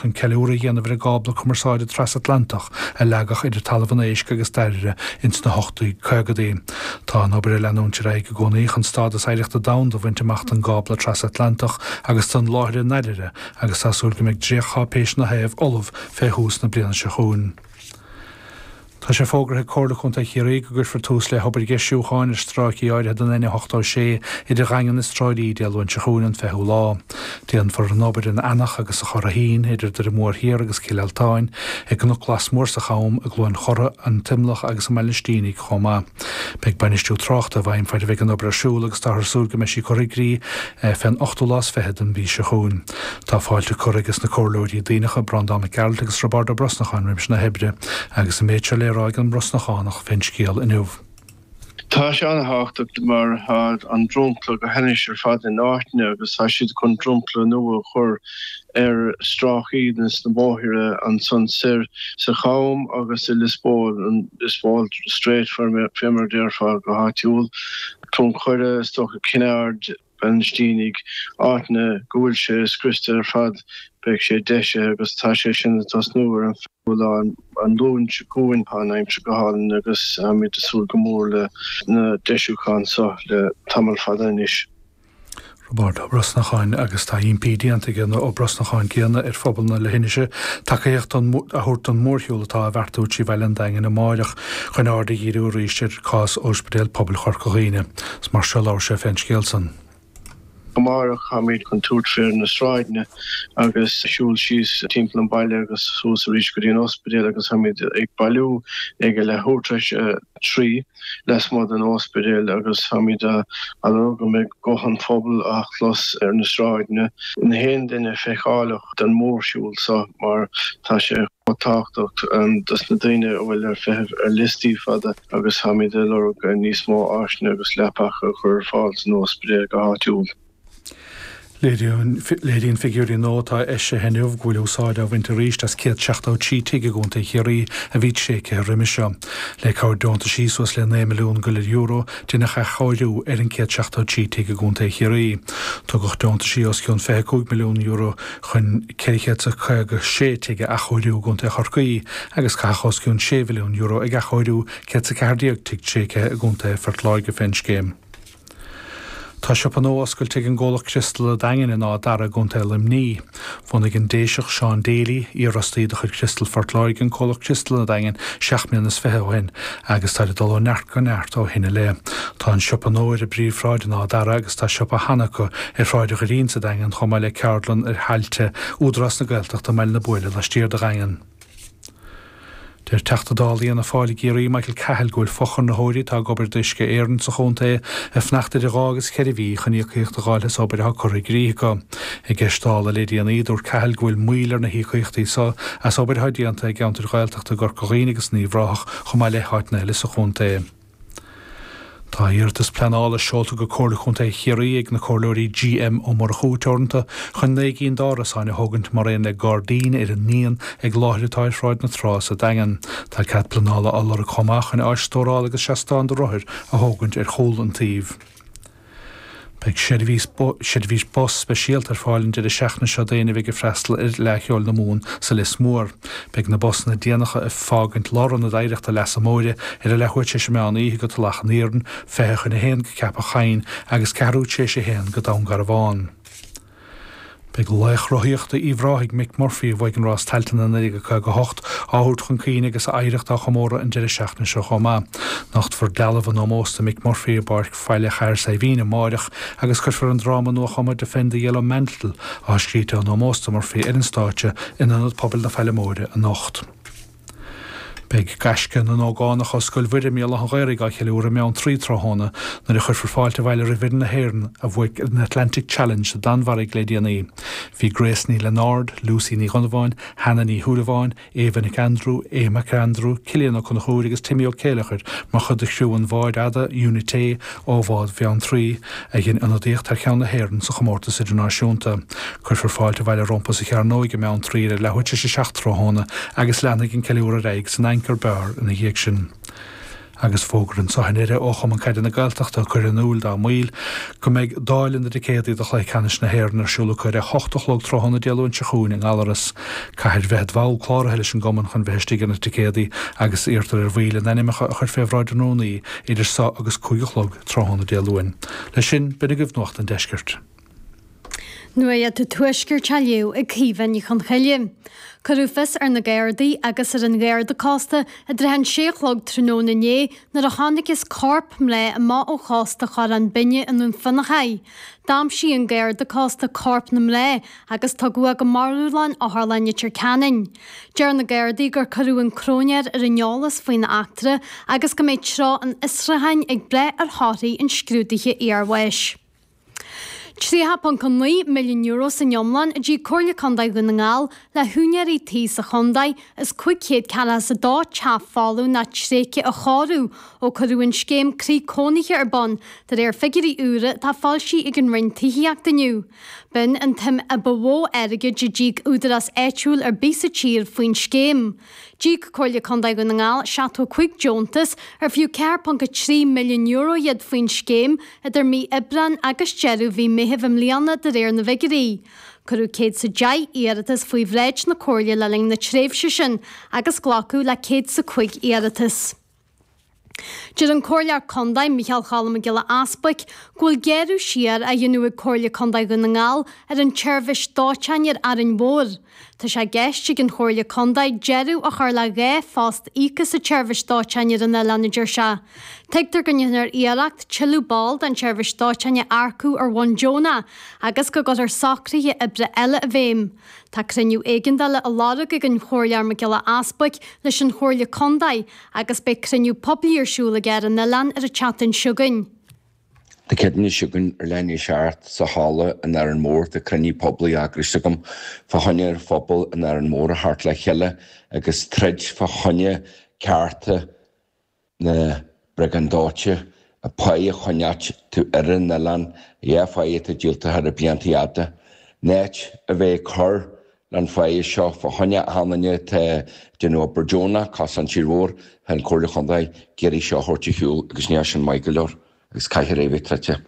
chun ceiliúradh a dhéanamh ar an gcábla cumarsáide trasatlantach a leagadh idir Talamh an Éisc agus Dairbhre ins na 1850idí. Tá an obair ag leanúint ar aghaidh i gcónaí chun stádas oidhreachta domhanda a bhaint amach don gcábla trasatlantach agus don láthair i nDairbhre agus tá súil go mbeidh dréachtcháipéis ina thaobh ullamh fé thús na bliana seo chugainn. Tá sé fógartha ag Comhairle Contae Chiarraí go gcuirfear tús le hobair dheisiúcháin ar stráicí áirithe den N86 idir Dhaingean is Trá Lí Dé Luain seo chugainn, an 20ú lá. Déanfar an obair in Eanach agus sa Churraichín, idir Doire Mór Thiar agus Cill Altáin, i gCnoc Lasmuir sa Cham, i gCluain Chorra, an T-Imleach agus i mBaile an Stínigh chomh maith. Beidh bainistiú tráchta i bhfeidhm faid a bheidh an obair ar siúl agus táthar ag súil go mbeidh sí curtha i gcrích fén ochtú lá is fiche den mhí seo chugainn. Tá fáilte curtha ages na Comhairleoirí Duibhneacha, Breandán Mac Gearailt agus Roibeárd Ó Brosnacháin roimis na hoibre agus an méid seo le rá ag an mBrosnachánach fén scéal inniu. Tá sé an-thábhachtach mar tá an dromchla go hainnis ar fad in áiteanna agus tá siad chun dromchla nua a chur ar stráicí de na bóithre ansan soir sa Cham agus i Lios Póil, an Lios Póil Straight fé mar a déarfá go háitiúil, Cluain Choire, is dócha Cinn Aird, Baile an Stínigh, áiteanna go bhfuil sé scriosta ar fad, beidh sé deisithe agus tá sé sin ag tosnú ar an 20ú lá an Luan seo chugainn. Tá an aimsir go hálainn agus táimid ag súil go mór le na deisiúcháin seo le tamall fada anois. Roibeárd Ó Brosnacháin agus tá impí déanta ag an Ó Brosnacháin céanna ar phobal na leithinise tacaíocht a thabhairt don mhórshiúl atá á bheartú trí bhaile an Daingin amáireach chun aird a dhíriú arís ar chás Ospidéal Pobail Chorca Dhuibhne. Is mar seo a labhair sé fén scéal san. Amárach táimid chun tabhairt fé na sráideanna agus siúl síos timpeall an bhaile agus suas arís go dtí an ospidéal agus táimid ag bailiú ag a leathuair tar éis a 3 lasmuigh den ospidéal agus táimid á lorg go mbeidh guth an phobail á chlos ar na sráideanna. Na haon duine feiceálach don mhórshiúl seo mar tá sé chomh tábhachtach dos na daoine a bhfuil ar feitheamh ar liostaí fada agus táimid ag lorg níos mó áiseanna agus leapacha a chur ar fáil san ospidéal go háitiúil. Léiríonn figiúirí nua atá eisithe inniu go bhfuil úsáid á bhaint arís as 173 tigh i gContae Chiarraí a bhí tréigthe roimhe seo. Le cabhair deontaisí suas le 9 milliún go leith euro, deineadh athchóiriú ar an 173 tigh i gContae Chiarraí. Tugadh deontaisí os cionn €25 milliún chun 456 tigh a athchóiriú i gContae Chorcaí agus caitheadh os cionn €6 mhilliún ag athchóiriú 114 tigh tréigthe i gContae Phort Láirge fén scéim. Tá siopa nua oscailte ag an gcomhlacht Criostal an Daingin in Áth Dara i gContae Luimnigh. Bhunaigh an Déiseach Seán Daly, iarfhostaí de chuid Criostal Phort Láirge an comhlacht Criostal an Daingin 7 mbliana is fiche ó shin agus táid ag dul ó neart go neart ó shin i leith. Tá an siopa nua ar an bpríomhshráid in Áth Dara agus tá siopa cheana acu ar Shráid an Dhoirín sa Daingean chomh maith le ceardlann ar thailte Údarás na Gaeltachta i mBaile na Buaile laistiar de Dhaingean. Deir Teachta Dála Fhianna Fáil i gCiarraí, Michael Cahill, go bhfuil fochonraitheoirí atá ag obair d'Uisce Éireann sa chontae ag fanacht idir dhá agus cheithre mhí chun íocaíocht a dh'fháil as obair atá curtha i gcrích acu. I gceist Dála le déanaí, dúirt Cahill go bhfuil moill ar na híocaíochtaí so as obair atá déanta i gceantair Ghaeltachta i gCorca Dhuibhne agus in Uíbh Ráthach chomh maith le háiteanna eile sa chontae. Tá iarratas pleanála seolta go Comhairle Contae Chiarraí ag na Comhairleoirí G.M. Ó Murchú Teoranta chun 9 gcinn d'árasáin a thógaint mar aon le gairdín ar an ndíon ag láthair atá ar Shráid na Trá sa Daingean. Tá cead pleanála á lorg chomh maith chun áis stórála agus seastán do rothair a thógaint ar chúl an tsuímh. Beidh seirbhís seirbhís bus speisialta ar fáil an deireadh seachtaine seo d'éinne a bheidh ag freastal ar Fhleadh Cheoil na Mumhan sa Lios Mór. Beidh na busanna déanacha ag fágaint Lárionad Oidhreachta Leasa Móire ar a leathuair tar éis an meán oíche go Tulach an Iarainn, 1:40 go Ceapach Choinn agus ceathrú tar éis a haon go Dún Garbhán. Beidh laoch rothaíochta Uíbh Ráthaigh, Mick Murphy, a bhuaigh an rás Tailteann i 1958, á thabhairt chun cuimhne agus a oidhreacht á chomóradh an deireadh seachtaine seo chomh maith. Nochtfar dealbh in ómós do Mick Murphy i bPáirc Bhaile Chathair Saidhbhín amáireach agus cuirfear an dráma nuachumtha Defend the Yellow Mantle, atá scríte in ómós do Murphy, ar an stáitse in Ionad Pobail na Faille Móire anocht. Beidh gaisce na n-ógánach ó Scoil Mhuire i mBéal Átha an Ghaorthaidh á cheiliúradh i mBeanntraí tráthnóna nuair a chuirfear fáilte abhaile roimh fhoireann na hÉireann a bhuaigh an Atlantic Challenge sa Danmhairg le déanaí. Bhí Grace Ní Lionáird, Lucy Ní Dhonnabháin, Hannah Ní Shúilleabháin, Ava Nic Aindriú, Aodh Mac Aindriú, Cillian Ó Conchúir agus Timmy Ó Céileachair mar chuid de chriú an bháid fhada Unité ó Bhád Bheanntraí, a dhein ionadaíocht thar cheann na hÉireann sa chomórtas idirnáisiúnta. Cuirfear fáilte abhaile rompu sa Chearnóig i mBeanntraí ar a leathuair tar éis a 7 tráthnóna agus leanfaidh an ceiliúradh ar aghaidh san Anchor Bar ina dhiaidh sin. Agus fógra anseo i nDoire ó Chumann Caide na Gaeltachta ag cur in iúil dá mbaill go mbeidh dáileadh na dticéadaí do Chluiche Ceannais na hÉireann ar siúl acu ar a hocht a chlog tráthnóna Dé Luain seo chugainn i nGallaras. Caithfear bheith id bhall cláraithe leis an gcumann chun bheith istigh ar na ticéadaí agus iarrtar ar bhaill a n-ainmeacha a chur fé bhráid an rúnaí idir so agus 5 a chlog tráthnóna Dé Luain. Leis sin, b'in agaibh Nuacht an Deiscirt. Nuacht an Tuaiscirt á léamh ag Caoimhe Ní Chonchoille. Cuireadh fios ar na Gardaí agus ar an Gharda Cósta i dtrátha an sé a chlog tráthnóna inné nuair a chonacthas corp mná amach ó chósta Chorrán Binne i nDún Fionnachaidh. D'aimsigh an Garda Cósta corp na mná agus tugadh é go marbhlann Otharlann Leitir Ceanainn. Deir na Gardaí gur cuireadh an cróinéir ar an eolas faoin eachtra agus go mbeidh treo an fhiosrúcháin ag brath ar thorthaí an scrúdaithe iarbháis. €30.9 milliún san iomlán a d'íoc Comhairle Contae Dhún na nGall le húinéirí tí sa chontae as 542 teach folamh nó tréigthe a chóiriú ó cuireadh an scéim Croí Cónaithe ar bun, de réir figiúirí úra atá foilsithe ag an Roinn Tithíochta inniu. B'in an tsuim a ba mhó airgid a d'íoc údarás áitiúil ar bith sa tír faoin scéim. D'íoc Comhairle Contae Dhún na nGall 75 deontas ar fiú €4.3 milliún iad faoin scéim idir mí Aibreáin agus deireadh mhí Meithimh i mbliana de réir na bhfigiúirí. Cuireadh 110 iarratas faoi bhráid na Comhairle le linn na tréimhse sin agus glacadh le 105 iarratas. Deir an Comhairleoir Contae, Micheál Choilm Mac Giolla Easbuic, go bhfuil gearradh siar á dhéanamh ag Comhairle Contae Dhún na nGall ar an tseirbhís dóiteáin ar Árainn Mhór. Tá sé i gceist ag an Chomhairle Contae deireadh a chur le 2 phost íoctha sa tseirbhís dóiteáin ar an oileán, a deir sé. Tuigtear go ndéanfar iarracht tuilleadh ball den tseirbhís dóiteáin a earcú ar bhonn deonach agus go gcuirfear socruithe oibre eile i bhfeidhm. Tá cruinniú éigeandála á lorg ag an Chomhairleoir Mac Giolla Easbuic leis an Chomhairle Contae agus beidh cruinniú poiblí ar siúl aige ar an oileán ar an tseachtain seo chugainn. Dé Céadaoine seo chugainn ar leath i ndiaidh a 7 sa halla in Árainn Mhór tá cruinniú poiblí eagraithe agam fá choinne ar phobal in Árainn Mhór a theacht le chéile agus troid fá choinne cearta na briogáid dóite, a páigh a choinneáilt ar an oileán, dhá pháigh atá díolta thar na blianta fhada. In áit a bheith ag cur leis an pháighe seo fá choinne achan duine atá ag déanamh obair deonach, cosúil an tír mhór, tá an Comhairle Chontae ag iarraidh seo a thabhairt ar shiúl agus níl sin maith go leor agus caithfear é a bheith troidte.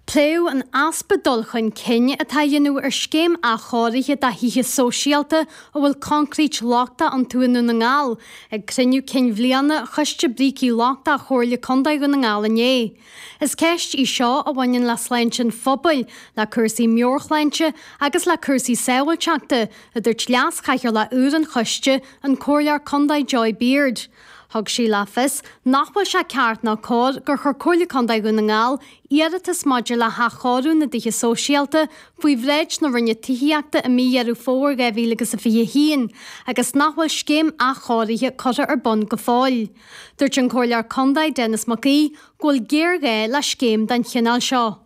Pléadh an easpa dul chun cinn atá á dhéanamh ar scéim athchóirithe do thithe sóisialta a bhfuil coincréit lochtach iontu i nDún na nGall ag cruinniú cinn bhliana Choiste Brící Lochtacha Chomhairle Contae Dhún na nGall inné. Is ceist í seo a bhaineann le sláinte an phobail, le cúrsaí meabhairshláinte agus le cúrsaí sábháilteachta, a dúirt Leas-Chathaoirleach úr an choiste, an Comhairleoir Contae Joy Beard. Thug sí le fios nach bhfuil sé ceart ná cóir gur chuir Comhairle Contae Dhún na nGall iarratas maidir le hathchóiriú na dtithe sóisialta faoi bhráid na Roinne Tithíochta i mí Dheireadh Fómhair 2021 agus nach bhfuil scéim athchóirithe curtha ar bun go fóill. Dúirt an Comhairleoir Contae Denis Mac Aoidh go bhfuil géarghá le scéim den chineál seo.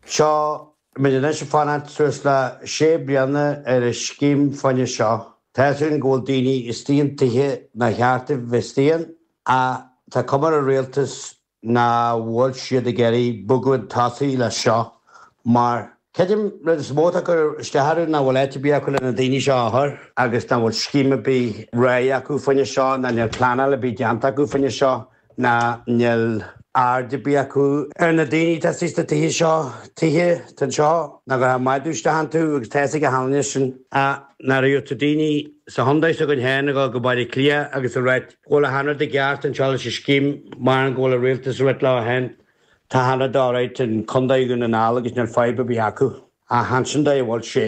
Seo muid anois ag fanacht suas le sé bliana ar an scéim fá choinne seo. Tá fhios againn go bhfuil daoine istigh in tithe nár cheart dóibh bheith istigh ann ach tá cuma ar an rialtas nach bhfuil siad ag iarraidh bogadh chun tosaigh leis seo mar creidim rud is mó atá ag cur isteach orthu nach bhfuil áit ar bith acu le na daoine seo a chur agus nach bhfuil scéim ar bith réidh acu fá choinne seo ná níl pleanáil ar bith déanta acu fá choinne seo ná níl aird ar bith acu ar na daoine atá istigh sna tithe seo, tithe atá anseo nach gcuirfeá madadh isteach iontu agus tá fhios ag achan duine sin. Ach nuair a gheobhaidh tú daoine sa chontae s'againn féin ag dul go Baile Átha Cliath agus ag ráit go bhfuil achan rud i gceart anseo leis an scéim mar go bhfuil an rialtas ag rith leo féin. Tá achan rud alright in Contae Dhún na nGall agus níl fadhb ar bith acu. Ach ansin dóigh a bhfuil sé.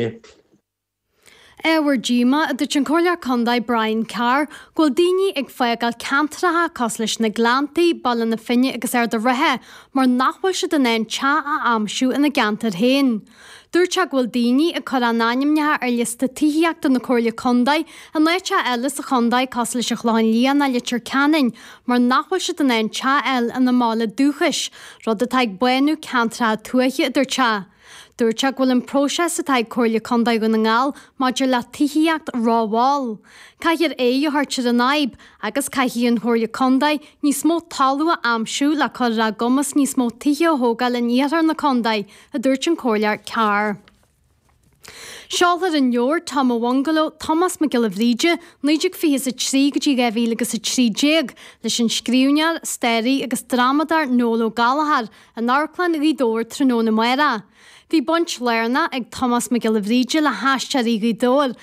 Ábhar díomá, a dúirt an Comhairleoir Contae Brian Carr, go bhfuil daoine ag fágáil ceantracha cosúil leis na Gleanntaí, Baile na Finne agus Ard an Rátha mar nach bhfuil siad in ann teach a aimsiú ina gceantar féin. Dúirt sé go bhfuil daoine ag cur a n-ainmneacha ar liosta tithíochta na Comhairle Contae in áiteacha eile sa chontae cosúil leis an Chlochán Liath ná Leitir Ceanainn mar nach bhfuil siad in ann teach a fháil ina mbaile dúchais, rud atá ag bánú ceantracha tuaithe, a dúirt sé. Dúirt sé go bhfuil an próiseas atá ag Comhairle Contae Dhún na nGall maidir le tithíocht rómhall. Caithfear aghaidh a thabhairt ar an fhadhb agus caithfidh an Chomhairle Contae níos mó talamh a aimsiú le cur ar a gcumas níos mó tithe a thógáil in iarthar na contae, a dúirt an Comhairleoir Carr. Seolfar an leabhar Tom a' Bhungaló, Tomás Mac Giolla Bhríde, 1923 go dtí 2013, leis an scríbhneoir, staraí agus drámadóir Noel Ó Gallchóir in Amharclann Ghaoth Dobhair tráthnóna amárach. Bhí baint lárnach ag Tomás Mac Giolla Bhríde le hAisteoirí Ghaoth Dobhair.